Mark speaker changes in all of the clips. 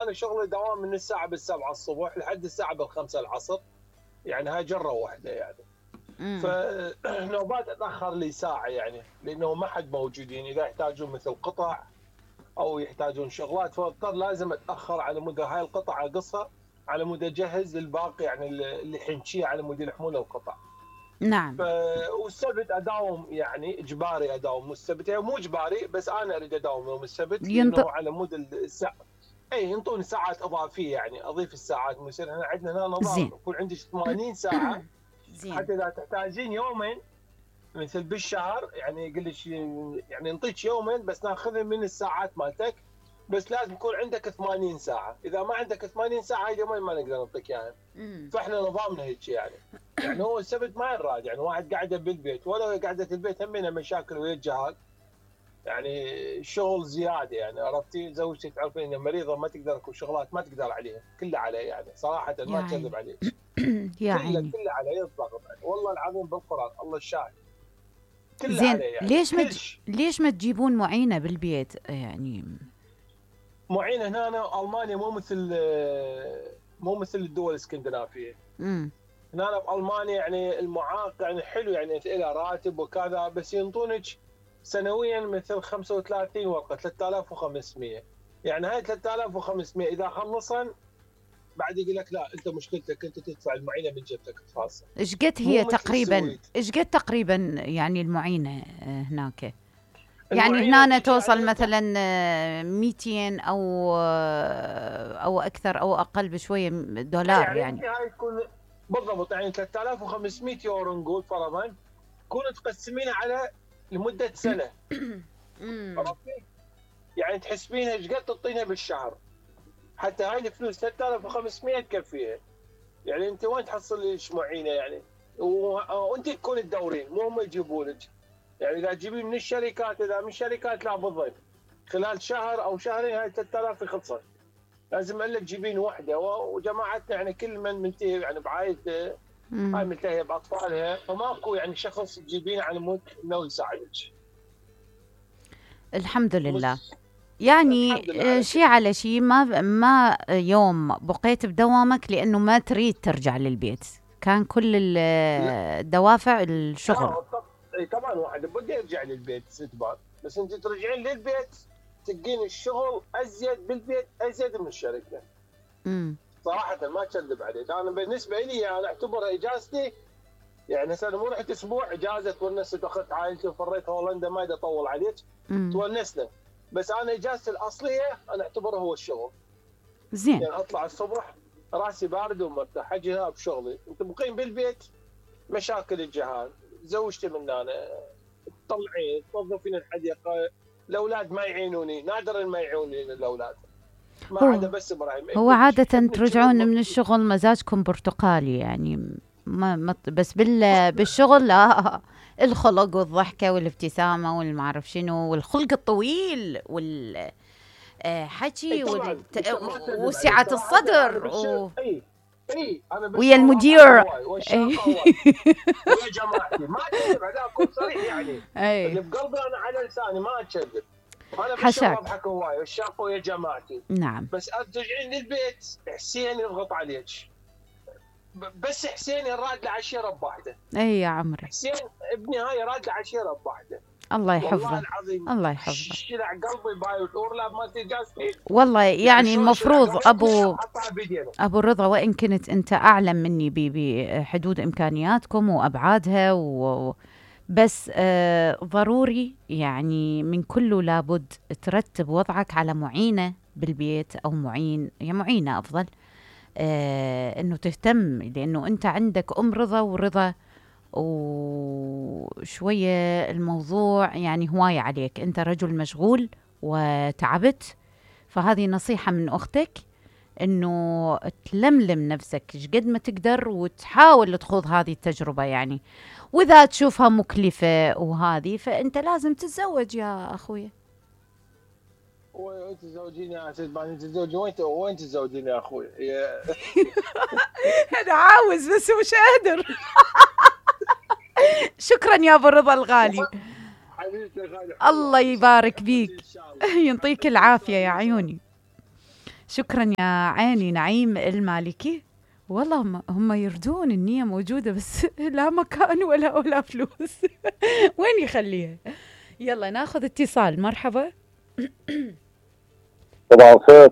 Speaker 1: انا شغلي دوام من الساعه بالسبعة الصبح لحد الساعه بالخمسة العصر، يعني هاي جره واحده يعني. فنوبات اتاخر لي ساعه يعني، لانه ما حد موجودين، اذا يحتاجون مثل قطع او يحتاجون شغلات فاضطر لازم اتاخر على مود هاي القطع اقصها على مود اجهز الباقي، يعني اللي حنشيه على مود يلحمون القطع.
Speaker 2: نعم.
Speaker 1: والسبت اداوم، يعني اجباري اداوم السبت، يعني مو اجباري بس انا اريد اداوم يوم السبت لانه على مود الساعه. اي ينطوني ساعات اضافيه، يعني اضيف الساعات، يصير احنا عندنا هنا نظام
Speaker 2: زين.
Speaker 1: يكون عندي 80 ساعه.
Speaker 2: زين.
Speaker 1: حتى اذا تحتاجين يومين مثل بالشهر، يعني يقول لك يعني نعطيك يومين بس ناخذهم من الساعات مالتك، بس لازم يكون عندك 80 ساعه، اذا ما عندك 80 ساعه هاي يومين ما نقدر نعطيك اياها. فاحنا نظامنا هيك يعني. يعني هو السبت ما ينراد، يعني واحد قاعده بالبيت، ولا قاعده البيت همينها مشاكل ويا الجهاز، يعني الشغل زياده، يعني عرفتي زوجتي تعرفين انها مريضه ما تقدر، اكو شغلات ما تقدر عليها، كلها علي يعني صراحه
Speaker 2: يا
Speaker 1: ما
Speaker 2: عيني.
Speaker 1: اكذب عليك.
Speaker 2: يا
Speaker 1: كلها
Speaker 2: عيني.
Speaker 1: علي الضغط يعني، والله العظيم بالقران الله الشاهد، كلها
Speaker 2: زين،
Speaker 1: علي يعني كلش.
Speaker 2: ليش ما تجيبون معينة بالبيت يعني؟
Speaker 1: معين هنا أنا المانيا مو مثل الدول الاسكندنافيه.
Speaker 2: امم
Speaker 1: هنا بالمانيا يعني المعاق يعني حلو، يعني له راتب وكذا، بس ينطونك سنويا مثل 35 ورقه 3500، يعني هاي 3500 اذا خلصن بعد يقول لك لا انت مشكلتك انت تدفع المعينه من جبتك الخاصه.
Speaker 2: ايش قد
Speaker 1: مو
Speaker 2: هي
Speaker 1: مثل
Speaker 2: تقريبا؟
Speaker 1: السويد.
Speaker 2: ايش قد تقريبا يعني المعينة هناك؟ يعني
Speaker 1: المعينه
Speaker 2: هنا
Speaker 1: تجي
Speaker 2: توصل
Speaker 1: يعني
Speaker 2: مثلا 200 او اكثر او اقل بشوية دولار
Speaker 1: يعني
Speaker 2: يعني.
Speaker 1: انت هاي تكون بالضبط، يعني 3500 يورو نقول فرضا، تكون تقسمينها على لمده سنه. عرفتي؟ يعني تحسبينها ايش قد تعطينها بالشهر، حتى هاي الفلوس 3500 تكفيها. يعني انت وين تحصل ايش معينه يعني؟ وانت تكون تدورين مو هم يجيبوا لك. يعني اذا تجيبين من الشركات، اذا من الشركات لا بالضبط خلال شهر او شهرين هاي 3000 خلصت. لازم الا تجيبين وحده، وجماعتنا يعني كل من منتهي يعني بعائلته، هاي منتهيه باطفالها، فماكو يعني شخص تجيبينه على مود انه يساعدك.
Speaker 2: الحمد لله.
Speaker 1: بس
Speaker 2: يعني
Speaker 1: الحمد لله على كل
Speaker 2: شي
Speaker 1: شيء.
Speaker 2: على شي، ما يوم بقيت بدوامك لأنه ما تريد ترجع للبيت، كان كل
Speaker 1: لا
Speaker 2: الدوافع الشغل.
Speaker 1: لا طبعا واحد بده يرجع للبيت ستبان، بس انت ترجعين للبيت تلقين الشغل ازيد بالبيت ازيد من الشركه.
Speaker 2: امم
Speaker 1: صراحه ما اكذب عليك، انا بالنسبه لي انا اعتبرها اجازتي. يعني هسه مو رحت اسبوع اجازه تونست واخذت عائلتي وفريت هولندا، ما بدي اطول عليك،
Speaker 2: امم
Speaker 1: تونسنا. بس انا اجازتي الاصليه انا اعتبرها هو الشغل.
Speaker 2: زين.
Speaker 1: يعني اطلع الصبح راسي بارد ومرتاح، اجي هنا بشغلي، انت مقيم بالبيت مشاكل الجهاز، زوجتي من انا تطلعين تنظفين الحديقه، الاولاد ما يعينوني، نادرا ما يعينوني الاولاد، ما
Speaker 2: هو
Speaker 1: عدا بس ابراهيم
Speaker 2: هو
Speaker 1: ابنك.
Speaker 2: عادة
Speaker 1: ابنك
Speaker 2: ترجعون
Speaker 1: شنو
Speaker 2: من الشغل مزاجكم برتقالي يعني، بس بالشغل الخلق والضحكة والابتسامة والمعرف شنو والخلق الطويل
Speaker 1: اي
Speaker 2: حكي
Speaker 1: طبعا ما اكذب عليك
Speaker 2: وسعة
Speaker 1: صراحه، انا
Speaker 2: الصدر
Speaker 1: اي انا
Speaker 2: ويا
Speaker 1: بالشغل اضحك
Speaker 2: المدير.
Speaker 1: هواي
Speaker 2: اي.
Speaker 1: والشاقه هواي ويا جماعتي، ما اكذب عليك اكون صريح يعني.
Speaker 2: اي.
Speaker 1: اللي بقلبي انا على لساني ما اكذب. انا بالشغل
Speaker 2: حشاك.
Speaker 1: اضحك هواي والشاقه ويا جماعتي،
Speaker 2: نعم.
Speaker 1: بس ترجعين للبيت حسين يضغط عليك. بس حسين يراد له عشيره بواحده.
Speaker 2: اي يا عمري.
Speaker 1: حسين ابني هاي يراد له عشيره بواحده.
Speaker 2: الله
Speaker 1: والله
Speaker 2: يحفظه.
Speaker 1: العظيم
Speaker 2: الله يحفظه.
Speaker 1: شلع قلبي باي الاورلاب مالتي جازتي.
Speaker 2: والله
Speaker 1: يعني
Speaker 2: يعني
Speaker 1: شلون شلع
Speaker 2: المفروض
Speaker 1: قلبي وحطها بيدينا.
Speaker 2: ابو رضا، وان كنت انت اعلم مني بحدود امكانياتكم وابعادها بس ضروري يعني من كله لابد ترتب وضعك على معينة بالبيت او معين، يعني معينة افضل، انه تهتم، لانه انت عندك رضا ورضا، وشوية الموضوع يعني هواية عليك، انت رجل مشغول وتعبت، فهذه نصيحة من اختك انه تلملم نفسك قد ما تقدر وتحاول تخوض هذه التجربة يعني، واذا تشوفها مكلفة وهذه فانت لازم تتزوج يا اخوي.
Speaker 1: وانت تزوجيني يا سيد باني، تزوجي وين تزوجيني يا اخوي
Speaker 2: انا عاوز بس مش قادر. شكرا يا ابو رضا الغالي.
Speaker 1: حبيبتي غالي،
Speaker 2: الله
Speaker 1: ان شاء الله
Speaker 2: يبارك
Speaker 1: تحفظي ان
Speaker 2: بيك.
Speaker 1: شاء الله
Speaker 2: يعطيك العافية يا عيوني. شكرا يا عيني نعيم المالكي. والله هم يردون النية موجودة بس لا مكان ولا فلوس. وين يخليها؟ يلا ناخذ اتصال. مرحبا.
Speaker 3: صباح الخير.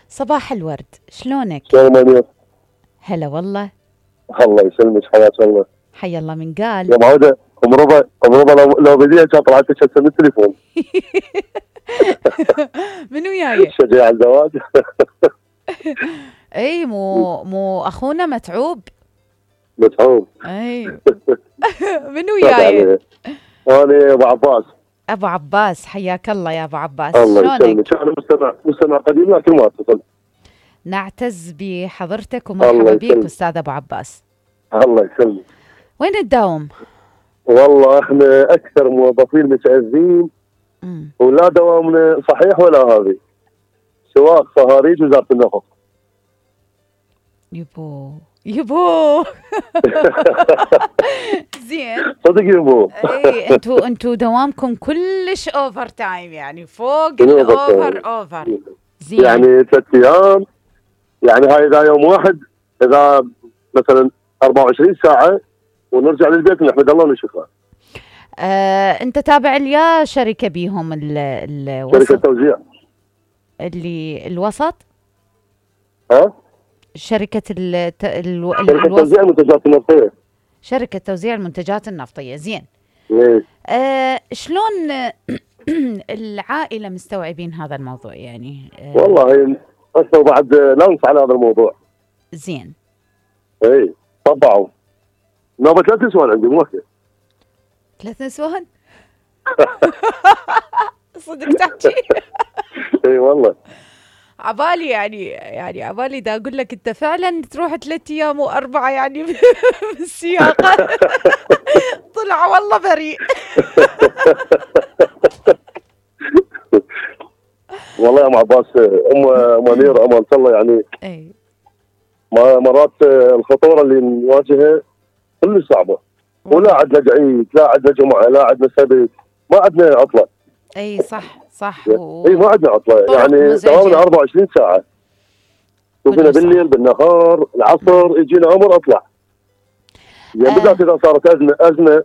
Speaker 2: صباح الورد، شلونك؟
Speaker 3: شلون منير؟
Speaker 2: هلا والله.
Speaker 3: الله يسلمك، حياك الله.
Speaker 2: حي الله من قال.
Speaker 3: يا معودة ام ربا لو بديها كان طلعت لك من التليفون.
Speaker 2: من وياي؟
Speaker 3: شجاع الزواج.
Speaker 2: اي مو اخونا متعوب.
Speaker 3: اي.
Speaker 2: من وياي؟
Speaker 3: انا ابو عباس.
Speaker 2: ابو عباس، حياك الله يا ابو عباس.
Speaker 3: الله يسلمك. انا مستمع قديم لكن ما اتصل.
Speaker 2: نعتز بحضرتك ومرحبا بك استاذ ابو عباس.
Speaker 3: الله يسلمك.
Speaker 2: وين تداوم؟
Speaker 3: والله احنا اكثر موظفين متعذبين ولا دوامنا صحيح ولا هذه، سواق صهاريج وزاره النفط.
Speaker 2: يبو زين
Speaker 3: صدق يبو.
Speaker 2: اي انتو دوامكم كلش اوفر تايم، يعني فوق الاوفر. زين
Speaker 3: يعني 3 ايام، يعني هاي اذا يوم واحد، اذا مثلا 24 ساعه ونرجع للبيت نحمد الله ونشكره.
Speaker 2: انت تابع ليا شركه بيهم الوسط؟
Speaker 3: شركه توزيع
Speaker 2: اللي الوسط؟ شركه
Speaker 3: توزيع المنتجات النفطيه.
Speaker 2: شركه توزيع المنتجات النفطيه. زين. شلون العائله مستوعبين هذا الموضوع يعني؟
Speaker 3: والله هسه بعد لانس على هذا الموضوع.
Speaker 2: زين.
Speaker 3: اي طبعوا نوبه 3 نسوان عندي مو
Speaker 2: 3 نسوان؟ صدق تحكي؟
Speaker 3: اي والله.
Speaker 2: عبالي يعني عبالي دا اقول لك انت فعلا تروح 3 ايام و4 يعني بالسياقه. طلع والله بريء.
Speaker 3: والله يا ام عباس، ام منير امان الله يعني.
Speaker 2: اي
Speaker 3: مرات الخطوره اللي نواجهها كلش صعبه، ولا عندنا عيد، لا عندنا جمعه، لا عندنا سبت، ما عندنا عطله.
Speaker 2: اي صح
Speaker 3: اي ما عندنا عطله، يعني دوامنا 24 ساعه. شوفنا بالليل بالنهار العصر يجينا امر اطلع. يعني بالذات اذا صارت ازمه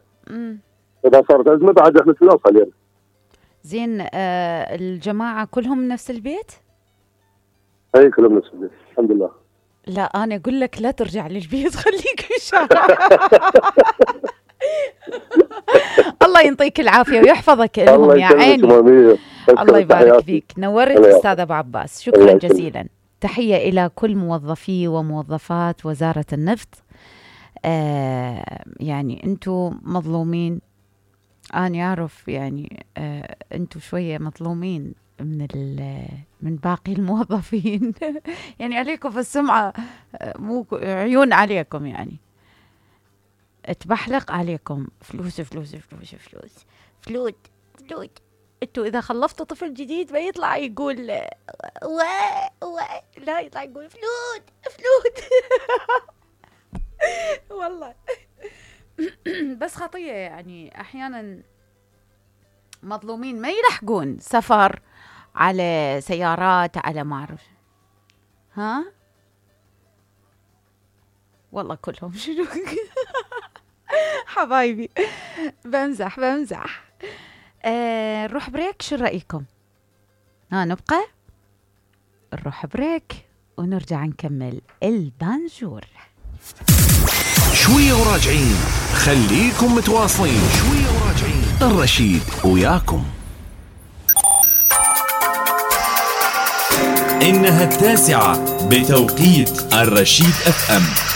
Speaker 3: اذا صارت ازمه بعد احنا نوصل يعني.
Speaker 2: زين. الجماعه كلهم نفس البيت؟
Speaker 3: اي كلهم نفس البيت الحمد لله.
Speaker 2: لا انا اقول لك لا ترجع للبيت، خليك بالشارع. الله ينطيك العافيه ويحفظك لهم يا عيني. الله يبارك فيك. نورت استاذ ابو عباس، شكرا جزيلا. تحيه الى كل موظفي وموظفات وزاره النفط. يعني انتم مظلومين، انا اعرف يعني انتم شويه مظلومين من باقي الموظفين. يعني عليكم في السمعه، مو عيون عليكم، يعني تبحلق عليكم فلوس فلوس فلوس فلوس فلوس فلوس. انتوا اذا خلفتوا طفل جديد ما يطلع يقول لا، يطلع يقول فلوس فلوس. والله. بس خطية يعني احيانا مظلومين ما يلحقون سفر على سيارات على ما اعرف. والله كلهم شنو. حبايبي بمزح. نروح بريك، شو رأيكم؟ نبقى نروح بريك ونرجع نكمل البانجور.
Speaker 4: شوية وراجعين، خليكم متواصلين. شوية وراجعين، الرشيد وياكم.
Speaker 5: إنها 9 بتوقيت الرشيد FM.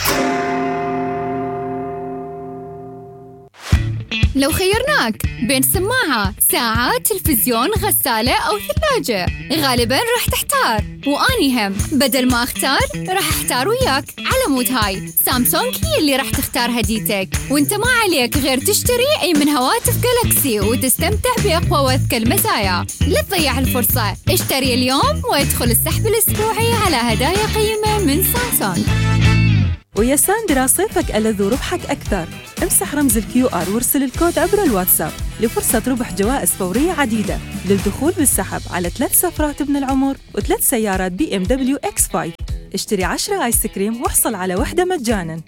Speaker 6: لو خيرناك بين سماعة، ساعة، تلفزيون، غسالة أو ثلاجة، غالباً راح تحتار. وأني هم بدل ما أختار راح أحتار وياك. على مود هاي سامسونج هي اللي راح تختار هديتك، وانت ما عليك غير تشتري أي من هواتف جالكسي وتستمتع بأقوى وأذكى المزايا. لا تضيع الفرصة، اشتري اليوم وادخل السحب الأسبوعي على هدايا قيمة من سامسونج.
Speaker 7: ويا ساندرا صيفك ألذ وربحك أكثر. امسح رمز الQR وارسل الكود عبر الواتساب لفرصة ربح جوائز فورية عديدة للدخول بالسحب على 3 سفرات ابن العمر و3 سيارات BMW X5. اشتري 10 آيس كريم واحصل على واحدة مجاناً.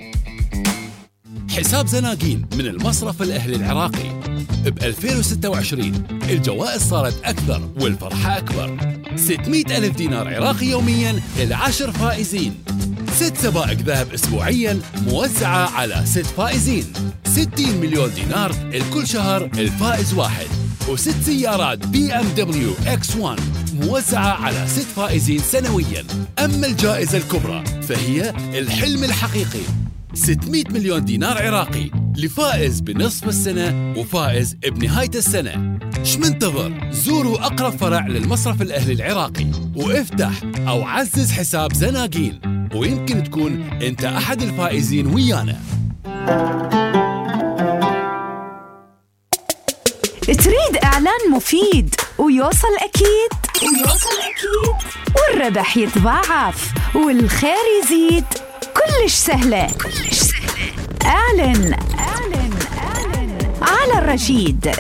Speaker 5: حساب زناقين من المصرف الأهلي العراقي. ب 2026 الجوائز صارت أكثر والفرحة أكبر. 600,000 دينار عراقي يومياً ل10 فائزين. 6 سبائك ذهب أسبوعياً موزعة على 6 فائزين. 60 مليون دينار الكل شهر الفائز واحد. و6 سيارات BMW X1 موزعة على 6 فائزين سنوياً. أما الجائزة الكبرى فهي الحلم الحقيقي، 600 مليون دينار عراقي لفائز بنصف السنة وفائز بنهاية السنة. شمنتظر؟ زوروا أقرب فرع للمصرف الأهلي العراقي وافتح أو عزز حساب زناقين، ويمكن تكون أنت أحد الفائزين ويانا.
Speaker 2: تريد إعلان مفيد ويوصل أكيد والربح يتضاعف والخير يزيد؟ كلش سهلة. اعلن على الرشيد.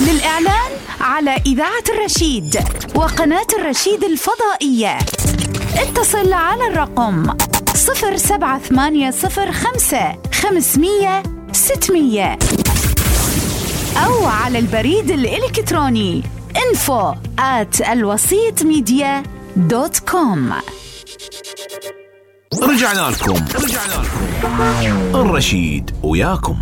Speaker 2: للإعلان على إذاعة الرشيد وقناة الرشيد الفضائية اتصل على الرقم 07805 500 600 أو على البريد الإلكتروني info@alwasitmedia.com.
Speaker 4: رجعنا لكم الرشيد وياكم.